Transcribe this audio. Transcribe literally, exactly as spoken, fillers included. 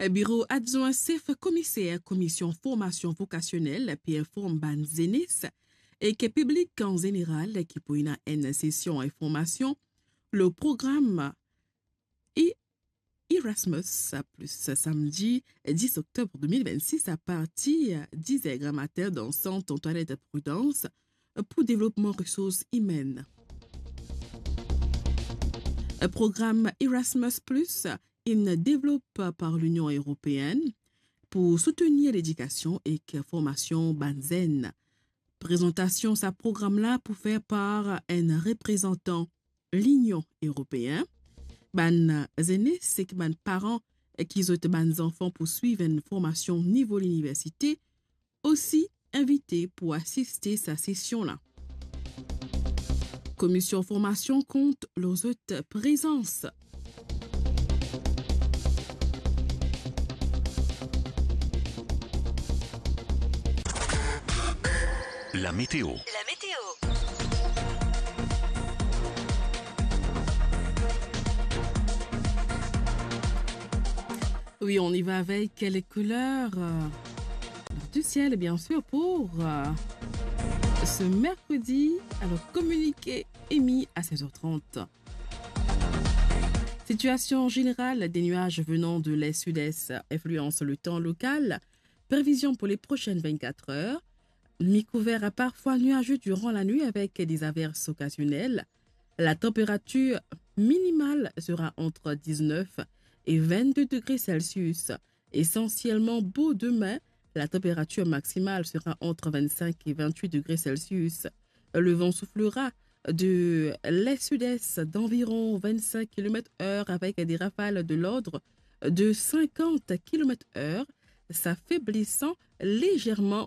Biro Adwin Sef Komiser Komisyon Formasion Vokasionel pe inform bann zenes ek piblik an zeneral ki pou ena enn sesion informasion lor program E-, Erasmus Plus, samdi dis oktob de mil vennsis, apartir diz er gramatin dan Sant Antoinette Prudence pou devlopman resours imenn. Program Erasmus Plus inn devlop par Linion Eropeenn pou soutenir ledikasion ek formasion bann zenn. Prezantasion sa program la pou fer par enn reprezantan Linion Eropeenn. Bann zenes ek bann paran ki zot bann zanfan pou swiv enn formasion nivo liniversite osi invite pou asiste sa sesion la. Komisyon Formasion kont lor zot prezans. La météo. La météo. Oui, on y va avec les couleurs, euh, du ciel, bien sûr, pour, euh, ce mercredi. Alors, communiqué émis à seize heures trente. Situation générale, des nuages venant de l'est-sud-est influencent le temps local. Prévision pour les prochaines vingt-quatre heures. Mi-couvert à parfois nuageux durant la nuit avec des averses occasionnelles. La température minimale sera entre dix-neuf et vingt-deux degrés Celsius. Essentiellement beau demain, la température maximale sera entre vingt-cinq et vingt-huit degrés Celsius. Le vent soufflera de l'est-sud-est d'environ vingt-cinq kilomètres heure avec des rafales de l'ordre de cinquante kilomètres heure, s'affaiblissant légèrement